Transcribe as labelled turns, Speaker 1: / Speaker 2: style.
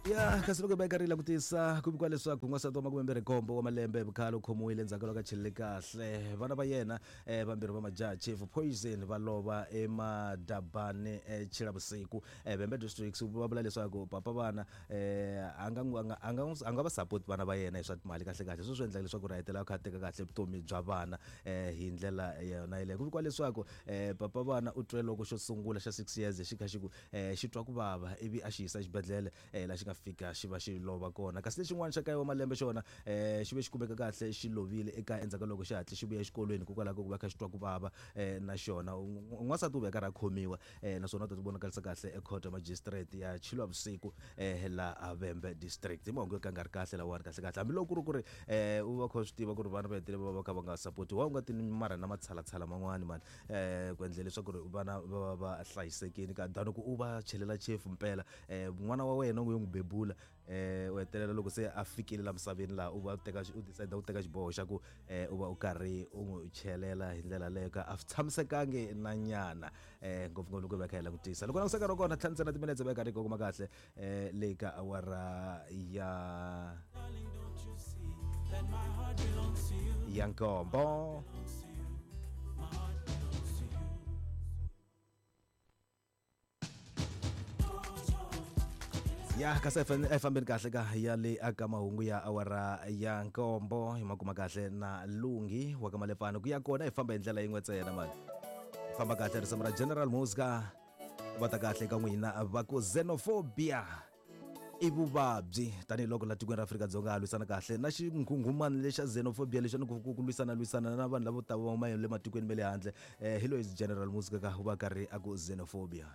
Speaker 1: Ya kasi loko hi va hi karhi hi langutisa ku vikiwa leswaku n'wansati wa 27 wa malembe hi vukhale u khomiwile endzhaku ka loko a chelele kahle vana va yena um vambirhi va majaha chief poison va lova emadabane um chilavusiku um vhembe districts va vula leswaku papa vana um a nga a nga a nga a nga va support vana va yena hi swa timali kahle kahle sweswo swi endlaka leswaku ri a hetelela a kha a teka kahle vutomi bya vana um hi ndlela yona yeleyo. Ku vikiwa leswaku um papa vana u twe loko xo sungula xa 6 years xi kha xi ku um xi twa ku vava ivi a xi yisa exibedhlele um laha xi nga fika xi va xi lova kona. Kasi lexin'wana xa kaye wa malembe xona um xi ve xi kumeka kahle xi lovile ekaya endzhaku ka loko xi hatle xi vuya exikolweni hikokwalaho ka ku va kha xi twa ku vava um na xona. N'wansati u ve karhi a khomiwa um naswona u ta ti vonakarisa kahle ekhoto ya magistrate ya Chiluavusiku um laha Vhembe district. Hi mahungu yo ka nga ri kahle lawani kahle kahle hambiloko ku ri ku ri um u va kha u swi tiva ku ri vana va hetelela va va kha va nga sapotiwi wa u nga ti marha na matshalatshala man'wani mani ku endlela leswaku ri vana va va va hlayisekile ka than ku u va chelela chefu mpela n'wana wa wena u yo n'wi bebula u hetelela loko se a fikile la misaveni laha u va teka u decide ku teka xiboho xa ku u va u karhi u n'wi chelela hi ndlela leyo ka a swi tshamisekangi na nyana ngopfungopfu loko hi va kha hi langutisa loko langutisa nkarhi wa kona ntlhanu ntsena timinetse va karhi yi kongoma kahle le ka awara ya ya nkombo. Ya kasi a fambeni kahle ka ya le aka mahungu ya awara ya nkombo hi ma kuma kahle na lunghi wa ka malepfana ku ya kona hi famba hi ndlela yin'we ntsena mani famba kahle risimu ra General Muzka va ta kahle ka n'wina va ku xenophobia i vuvabyi tanihiloko la tikweni ra Afrika-Dzonga ha lwisana kahle na xinghunghumani lexa xenophobia lexi ku ku lwisana lwisana na vanhu lavo ta va huma le matikweni ma le handle hi loyi General Muzka ka u va karhi a ku xenophobia.